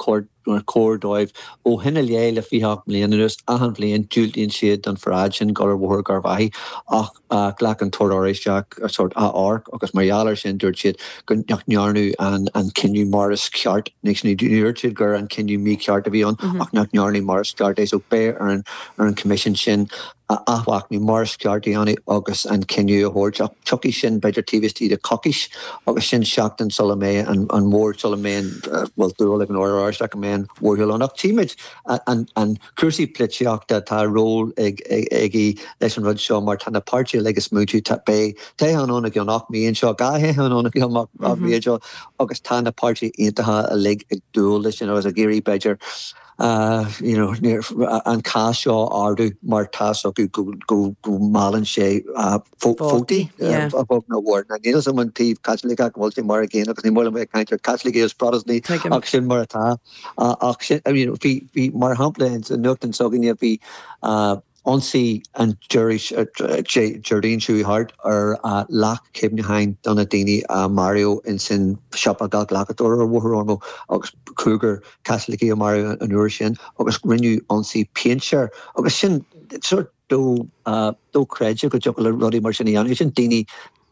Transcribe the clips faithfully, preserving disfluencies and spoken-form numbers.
cóir dóibh ó shin i leith le fiche ocht mbliana anuas achan bhliain diúltaíonn siad don pharáid sin dul ar Bhóthar Gharbhachaidh ach ghlac an tOrd Oráisteach sórt achomharc agus mar gheall air sin dúirt siad go nach ndearnadh an an cinneadh mar is ceart ní dúirt siad gur an cinneadh mícheart a bhí ann ach nach ndearnadh mar is ceart é so beidh ar an ar an Coimisiún sin athmhachnamh mar is ceart a dhéanamh agus an cinneadh a thabhairt ach tiocfaidh sin b'fhéidir taobh istigh de coicís agus sin seachtain sula mbeidh an an mhór sula mbeidh bhfuil dúil ag an Ord Oráisteach go mbeidh an mhórshiúl ann ach tímid an an cúrsaí polaitíochta tá ról ag ag leis an rud seo mar tá na páirtithe uilig ag smaointiú tá beidh toghchán ann i gceann ocht mí anseo dhá thoghchán ann i gceann ocht mí anseo agus tá na páirtithe aontaithe uilig ag dúil leis sin agus ag iarraidh b'fhéidir uh, you know, an cás seo ardú mar tá acu go go go meallann sé uh, vótaí a bhog na bhord. Na níl an taobh Caitliceach bhfuil sé mar a gcéanna agus ní mó le caint ar Caitlicigh is Protestantach ach sin mar atá ach sin I mean, bhí bhí mar shampla in nuachtán s'againne bhí uh, ionsaí an Déardaoin seo thart ar leac cuimhneacháin do na daoine a maraíodh in sin siopa glacadóir ar Bhóthar Ormeau agus cúigear Caitlicigh a maraíodh an uair sin agus rinneadh ionsaí péinte agus sin sort do dochreidte go dtiocfadh le rudaí mar sin a dhéanamh sin daoine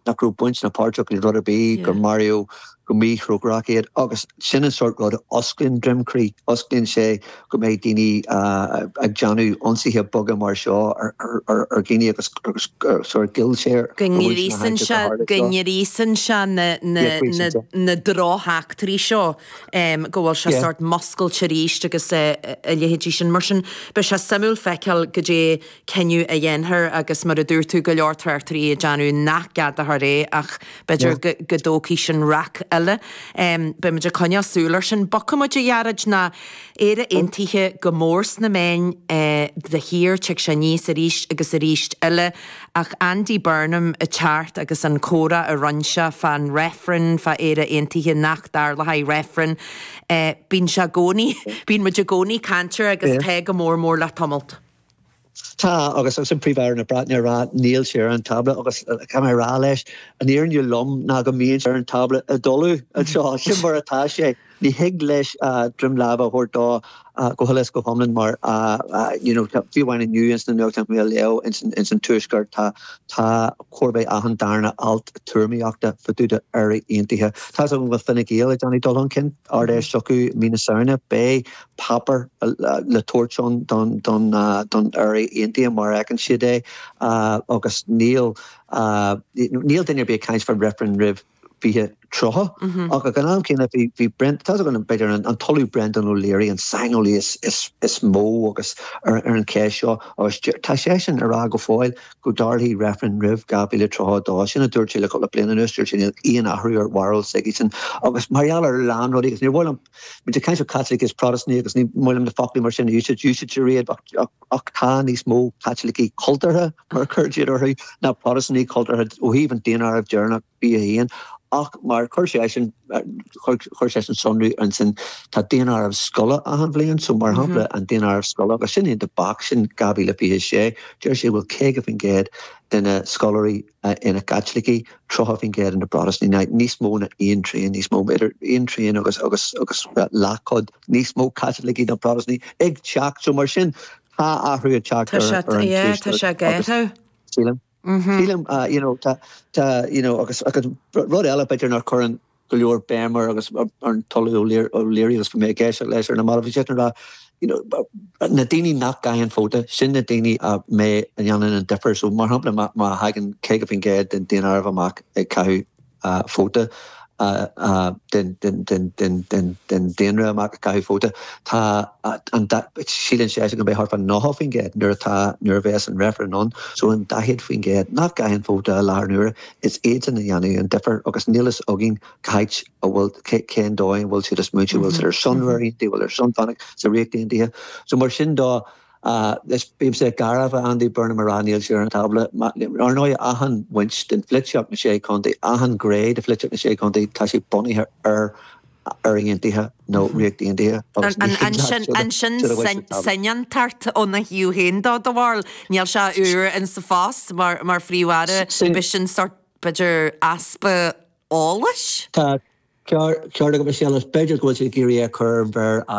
nach raibh baint ná páirt acu le rud ar bith gur maraíodh go míthrócaireach iad agus sin an sort rud osclaíonn droim croí osclaíonn sé go mbeidh daoine ag déanamh ionsaithe beaga mar seo ar ar dhaoine agus agus sort gil sé Go ngríosann sé go ngríosann sé na na na drocheachtraí seo go bhfuil sé sort muscailte arís agus a leithéidí sin mar sin beidh sé suimiúil feiceáil goidé cinneadh a dhéanfar agus mar a dúirt tú go leor tráchtairí ag déanamh nach gceadófar é ach b'fhéidir go dtógfaidh sin rac eile. Beimid ag coinneáil súil air sin. Bogfaimid a Ghearóid ná Éire Aontaithe go mór sna meáin de shíor tig sé aníos arís agus arís eile ach Andy Burnham ag teacht agus an comhrá a rinne sé fán reifreann fá Éire Aontaithe nach dtarlóidh reifreann. Bíonn sé i gcónaí bíonn muid i gcónaí caint air agus tá go mór mór le tamalt. Tá agus agus an Príomh-Aire na Breataine rá níl sé ar an tábla agus tá mé rá leis an fhírinne lom ná go mbíonn ar an tábla i dtolamh anseo sin mar atá sé. Ní thig leis droim láimhe a thabhairt dó go huile is go hiomlán mar you know fiú amháin inniu ins na nuachtáin mé leo ins ins an tuaisceart tá tá chóir a bheith achan darna alt tuairimíochta fá dtaobh d'Éire Aontaithe. Tá go bhfuil Fine Gael ag déanamh dul chun cinn Ard-Fheis s'acu mí na Samhna beidh páipéar le tabhairt ann don don don Éire Aontaithe mar a fheiceann siad é agus níl níl duine ar bith ag caint faoin reifreann roimh fiche tríocha ach ag an am céanna bhí bhí Brent tá an b'fhéidir an tOllamh Brendan O'Leary an saineolaí is is is mó agus ar ar an cheist seo agus tá sé sin ar rá go fóill go dtarlóidh reifreann roimh dhá mhíle tríocha a dó sin a dúirt sé le cúpla bliain anuas dúirt sé níl aon athrú ar bharúil s'aigesean agus mar gheall ar a lán rudaí agus níor mhaith liom muid ag caint ar Caitlicigh is Protastúnaigh agus ní maith liom na foclaí mar sin a úsáid úsáidtear iad ach tá níos mó Caitlicigh cultúrtha mar a chuir siad orthu ná Protastúnaigh cultúrtha ó thaobh an daonáirimh deireanach fiche a haon ach mar chuir sé sin chuir sé sin sonrú ansin tá daonáireamh scoile achan bhliain so mar shampla an daonáireamh scoile agus sin the box sin dhá mhíle fiche sé deir sé bhfuil caoga faoin gcéad de na scoláirí ina gCaitlicigh tríocha faoin gcéad ina bProtastúnaigh níos mó ná aon trian níos mó idir aon trian agus agus agus leathchuid níos mó Caitlicigh ná Protastúnaigh ag teacht so mar sin tá athrú ag teacht ar ar an tá sé gaetha. Sílim Sílim you know tá tá you know agus agus rud eile b'fhéidir nach cuireann go leor béim air agus ar an tOllamh O'Leary agus mé ag éisteacht leis ar na mallaibh sé rá you know na daoine nach gcaitheann vóta sin na daoine a mé a dhéanann an difear so mar shampla má má thagann caoga faoin gcéad den daonáireamh amach ag caitheamh vóta den den den den den den daonra amach ag caitheamh vóta tá an síleann sé go mbeidh thart fá nócha faoin gcéad nuair atá nuair a bheas an reifreann ann so an daichead faoin gcéad nach gcaitheann vóta i láthair na huaire is iadsan a dhéanamh an difear agus níl fhios againn cá háit a bhfuil cén dóigh an bhfuil siad ag smaointiú bhfuil siad ar son Éire bhfuil ar son fanacht sa Ríocht Aontaithe so mar sin dó is bímse garbh Andy Burnham a rá níl sé ar an tábla ar ndóigh achan bhaint den pholaitíocht na sé chontae achan ghné de pholaitíocht na sé chontae tá sé bunaithe ar Éire Aontaithe nó Ríocht Aontaithe Ansin soineantacht óna thaobh féin dó do bharúil níl sé úr in sa phost mar mar phríomh-aire b'shin sort b'fhéidir easpa eolais? Tá ceart go sé b'fhéidir go bhfuil sé ag iarraidh é chur ar an mhéar